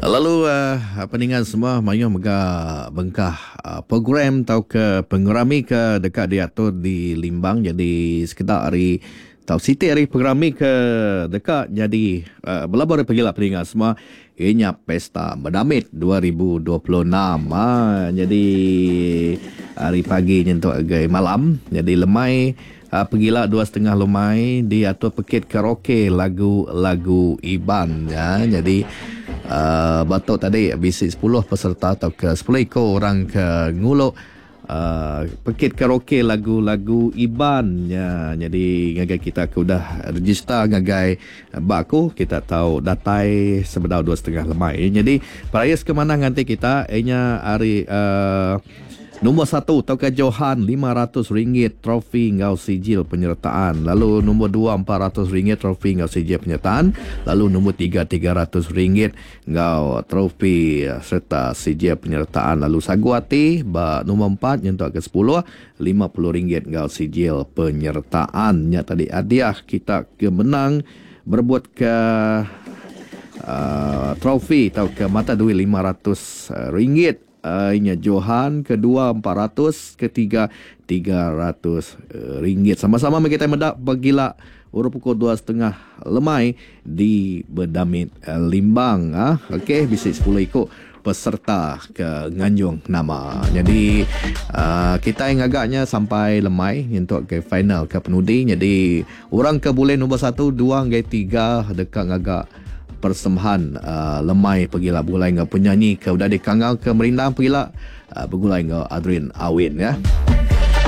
Lalu peningan semua mayuh mega bengkah program tauka pengerami ke deka diatur di Limbang jadi sekeda ari tau siti ari pengerami ke deka nyadi belabuh ari pegila peninga semua iya nya Pesta Medamit 2026. Aa nyadi ari pagi nyentuk ngagai malam nyadi lemai Pegila 2.30 lemai diatur pekit karaoke lagu-lagu Iban. Nyadi ba tu tadi bisi 10 peserta tauka 10 iku orang ke ngulu pekit karaoke lagu-lagu Iban. Nyadi ngagai kita ke udah register ngagai ba aku kita tau datai sebedau 2.30 lemai. Nyadi perais ke manah nganti kita inya ari Nombor satu tauka Johan RM500 trofi enggau sijil penyertaan, lalu nombor dua RM400 trofi enggau sijil penyertaan, lalu nombor tiga RM300 enggau trofi sereta sijil penyertaan lalu sagu ati ba nombor empat nyentuk ke sepuluh RM50 enggau sijil penyertaan. Nya tadi hadiah kita ke menang berebut ke uhh trofi tauka mata duit RM500. Inya Johan, kedua 400, ketiga RM300. Sama-sama meh kitai meda pegila urung pukul 2.30 lemai di Bedamit Limbang. Ok bisi 10 iku peserta ke nganjung nama. Nyadi kitai ngaga nya sampai lemai nyentuk ke final ke penudi. Nyadi orang ke bulih nombor satu, dua enggai tiga deka ngaga persembahan lemai pegila begulai enggau penyanyi ke udah dikangau ke merindang pegila begulai enggau Adrin Awin ya.